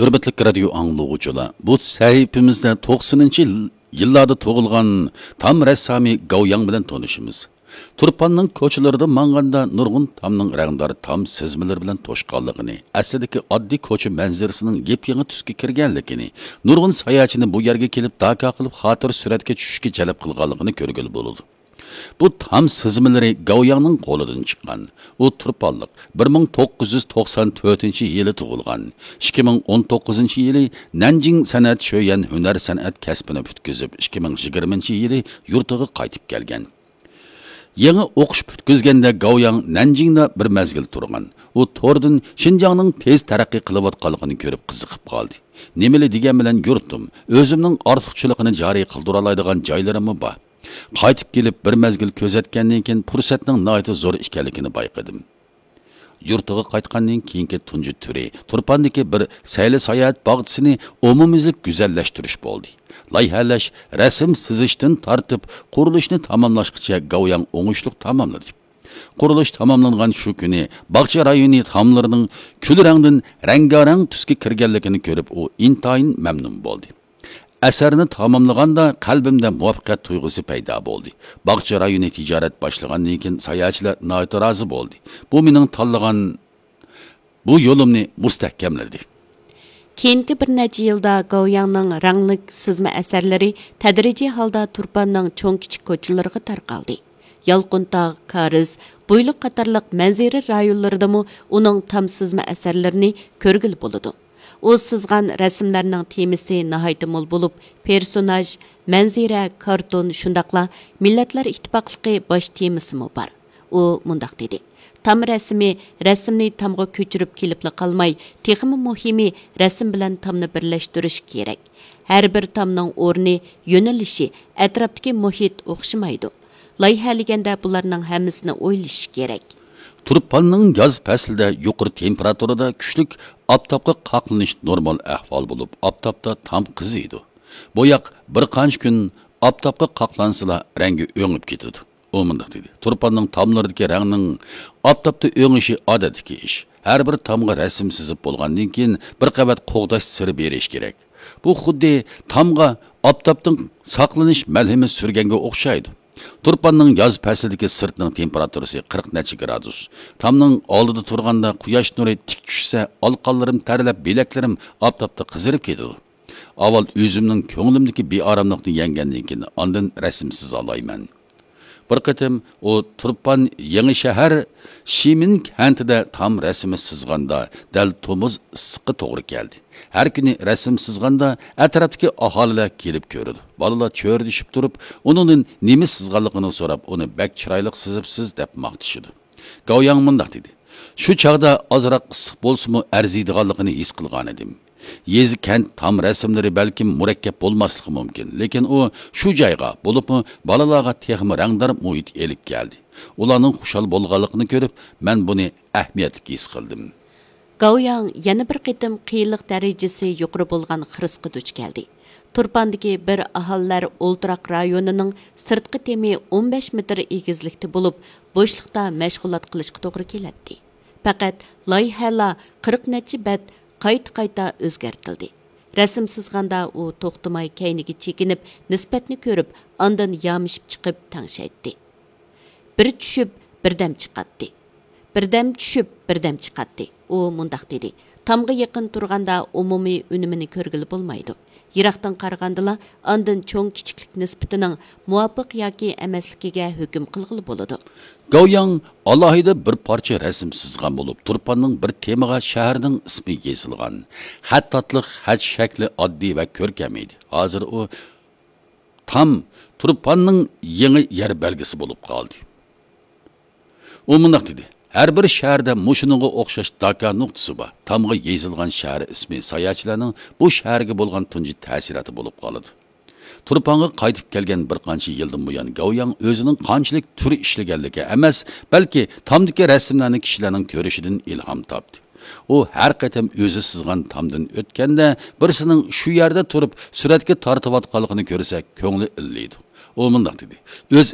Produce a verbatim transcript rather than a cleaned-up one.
ھۆرمەتلىك رادىيو ئاڭلىغۇچىلار، بۇ سەھىپىمىزدە توقسىنىنچى يىللاردا تۇغۇلغان تام رەسسامى گاۋياڭ بىلەن تونۇشىمىز. تۇرپاننىڭ كوچىلىرىدا ماڭغاندا نۇرغۇن تامنىڭ رەڭدار تام سىزمىلىرى بىلەن توشقانلىقىنى، ئەسلىدىكى ئاددىي كوچا مەنزىرىسىنىڭ يېپيېڭى تۈسكە كىرگەنلىكىنى، نۇرغۇن ساياھەتچىنى بۇ يەرگە كېلىپ داكا قىلىپ خاتىرە سۈرەتكە چۈشۈشكە جەلپ قىلغانلىقىنى كۆرگىلى بولىدۇ. بۇ تام سىزمىلىرى گاۋياڭنىڭ قولىدىن چىققان. ئۇ تۇرپانلىق، بىر مىڭ توققۇز يۈز توقسان تۆتىنچى يىلى تۇغۇلغان، ئىككى مىڭ ئون توققۇزىنچى يىلى نەنجىڭ سەنئەت شۆيەن ھۈنەر سەنئەت كەسپىنى پۈتكۈزۈپ، ئىككى مىڭ يىگىرمىنچى يىلى يۇرتىغا قايتىپ كەلگەن. يېڭى ئوقۇش پۈتكۈزگەندە گاۋياڭ نەنجىڭدا بىر مەزگىل تۇرغان. ئۇ توردىن شىنجاڭنىڭ تېز تەرەققىي قىلىۋاتقانلىقىنى كۆرۈپ قىزىقىپ قالدى. نېمىلى دېگەن بىلەن يۇرتۇم، ئۆزۈمنىڭ ئارتۇقچىلىقىنى جارى قىلدۇرالايدىغان جايلىرىممۇ بار. قايتىپ كېلىپ بىر مەزگىل كۆزەتكەندىن كېيىن پۇرسەتنىڭ ناھايىتى زور ئىكەنلىكىنى بايقىدىم. يۇرتىغا قايتقاندىن كېيىنكى تۇنجى تۈرى تۇرپاندىكى بىر سەيلە ساياھەت باغچىسىنى ئومۇميۈزلۈك گۈزەللەشتۈرۈش بولدى. لايىھەلەش، رەسىم سىزىشتىن تارتىپ قۇرۇلۇشنى تاماملاشقىچە گاۋياڭ ئوڭۇشلۇق تاماملىدى. قۇرۇلۇش تاماملانغان شۇ كۈنى باغچە رايونى تاملىرىنىڭ كۈل رەڭدىن رەڭگارەڭ تۈسكە كىرگەنلىكىنى كۆرۈپ ئۇ ئىنتايىن مەمنۇن بولدى. ئەسەرنى تاماملىغاندا قەلبىمدە مۇۋەپپەقىيەت تۇيغۇسى پەيدا بولدى. باغچە رايونى تىجارەت باشلىغاندىن كېيىن ساياھەتچىلەر ناھايىتى رازى بولدى. بۇ مېنىڭ تاللىغان، بۇ يولۇمنى مۇستەھكەملىدى. كېيىنكى بىر نەچچە يىلدا گاۋياڭنىڭ رەڭلىك سىزما ئەسەرلىرى تەدرىجىي ھالدا تۇرپاننىڭ چوڭ-كىچىك كوچىلىرىغا تارقالدى. يالقۇنتاغ، كارىز، بۇيلۇق قاتارلىق مەنزىرە رايونلىرىدىمۇ ئۇنىڭ تام سىزما ئەسەرلىرىنى كۆرگىلى بولىدۇ. ئۇ سىزغان رەسىملەرنىڭ تېمىسى ناھايىتى مول بولۇپ، پېرسوناژ، مەنزىرە، كارتون، شۇنداقلا مىللەتلەر ئىتتىپاقلىقى باش تېمىسىمۇ بار. ئۇ مۇنداق دېدى: تام رەسىمى رەسىمنى تامغا كۆچۈرۈپ كېلىپلا قالماي، تېخىمۇ مۇھىمى رەسىم بىلەن تامنى بىرلەشتۈرۈش كېرەك. ھەر بىر تامنىڭ ئورنى، يۆنىلىشى، ئەتراپتىكى مۇھىت ئوخشىمايدۇ. لايىھەلىگەندە بۇلارنىڭ ھەممىسىنى ئويلىشىش كېرەك. تۇرپاننىڭ ياز پەسلىدە يۇقىرى تېمپېراتۇرىدا كۈچلۈك ئاپتاپقا قاقلىنىش نورمال ئەھۋال بولۇپ، ئاپتاپتا تام قىزىيدۇ. بوياق بىر قانچە كۈن ئاپتاپقا قاقلانسىلا، رەڭگى ئۆڭۈپ كېتىدۇ. ئۇ مۇنداق دېدى: تۇرپاننىڭ تاملىرىدىكى رەڭنىڭ ئاپتاپتا ئۆڭۈشى ئادەتتىكى ئىش. ھەر بىر تامغا رەسىم سىزىپ بولغاندىن كېيىن، بىر قەۋەت قوغداش سىرى بېرىش كېرەك. بۇ خۇددى تامغا ئاپتاپتىن ساقلىنىش مەلھىمى سۈرگەنگە ئوخشايدۇ. تۇرپاننىڭ ياز پەسلىدىكى سىرتنىڭ تېمپېراتۇرىسى قىرىق نەچچە گرادۇس. تامنىڭ ئالدىدا تۇرغاندا قۇياش نۇرى تىك چۈشسە، ئالىقانلىرىم تەرلەپ، بىلەكلىرىم ئاپتاپتا قىزىرىپ كېتىدۇ. ئاۋۋال ئۆزۈمنىڭ كۆڭلۈمدىكى بىئاراملىقنى يەڭگەندىن كېيىن، ئاندىن رەسىم سىزالايمەن. بىر قېتىم ئۇ تۇرپان يېڭى شەھەر شىمىن كەنتىدە تام رەسىمى سىزغاندا، دەل تومۇز ئىسسىققا توغرا كەلدى. ھەر كۈنى رەسىم سىزغاندا، ئەتراپتىكى ئاھالىلەر كېلىپ كۆرىدۇ. بالىلار چۆرىدىشىپ تۇرۇپ، ئۇنىڭدىن نېمە سىزغانلىقىنى سوراپ، ئۇنى بەك چىرايلىق سىزىپسىز دەپ ماختىشىدۇ. گاۋياڭ مۇنداق دېدى: شۇ چاغدا ئازراق ئىسسىق بولسىمۇ ئەرزىيدىغانلىقىنى ھېس قىلغانىدىم. يېزا، كەنت تام رەسىملىرى بەلكىم مۇرەككەپ بولماسلىقى مۇمكىن، لېكىن ئۇ شۇ جايغا، بولۇپمۇ بالىلارغا تېخىمۇ رەڭدار مۇھىت ئېلىپ كەلدى. ئۇلارنىڭ خۇشال بولغانلىقىنى كۆرۈپ، مەن بۇنى ئەھمىيەتلىك ھېس قىلدىم. گاۋياڭ يەنە بىر قېتىم قىيىنلىق دەرىجىسى يۇقىرى بولغان خىرىسقا دۇچ كەلدى. تۇرپاندىكى بىر ئاھالىلەر ئولتۇراق رايونىنىڭ سىرتقى تېمى ئون بەش مېتىر ئېگىزلىكتە بولۇپ، بوشلۇقتا مەشغۇلات قىلىشقا توغرا كېلەتتى. پەقەت لايىھەلا قىرىق نەچچە بەت قايتا-قايتا ئۆزگەرتىلدى. رەسىم سىزغاندا ئۇ توختىماي كەينىگە چېكىنىپ، نىسبەتنى كۆرۈپ، ئاندىن يامىشىپ چىقىپ تەڭشەيتتى. بىر چۈشۈپ، بىردەم چىقاتتى. بىردەم چۈشۈپ، بىردەم چىقاتتى. ئۇ مۇنداق دېدى: تامغا يېقىن تۇرغاندا ئومۇمىي ئۈنۈمىنى كۆرگىلى بولمايدۇ. يىراقتىن قارىغاندىلا ئاندىن چوڭ كىچىكلىك نىسبىتىنىڭ مۇۋاپىق ياكى ئەمەسلىكىگە ھۆكۈم قىلغىلى بولىدۇ. گاۋياڭ ئالاھىدە بىر پارچە رەسىم سىزغان بولۇپ، تۇرپاننىڭ بىر تېمىغا شەھەرنىڭ ئىسمى يېزىلغان. خەت تاتلىق، خەت شەكلى ئاددىي ۋە كۆركەم ئىدى. ھازىر ئۇ تام تۇرپاننىڭ يېڭى يەر بەلگىسى بولۇپ قالدى. ئۇ مۇنداق دېدى: ھەر بىر شەھەردە مۇشۇنىڭغا ئوخشاش داكا نۇقتىسى بار. تامغا يېزىلغان شەھەر ئىسمى ساياھەتچىلەرنىڭ بۇ شەھەرگە بولغان تۇنجى تەسىراتى بولۇپ قالىدۇ. تۇرپانغا قايتىپ كەلگەن بىر قانچە يىلدىن بۇيان، گاۋياڭ ئۆزىنىڭ قانچىلىك تۈر ئىشلىگەنلىكى ئەمەس، بەلكى تامدىكى رەسىملەرنى كىشىلەرنىڭ كۆرۈشىدىن ئىلھام تاپتى. ئۇ ھەر قېتىم ئۆزى سىزغان تامدىن ئۆتكەندە، بىرسىنىڭ شۇ يەردە تۇرۇپ سۈرەتكە تارتىۋاتقانلىقىنى كۆرسە، كۆڭلى ئىللىيدۇ. ئۇ مۇنداق دېدى: ئۆز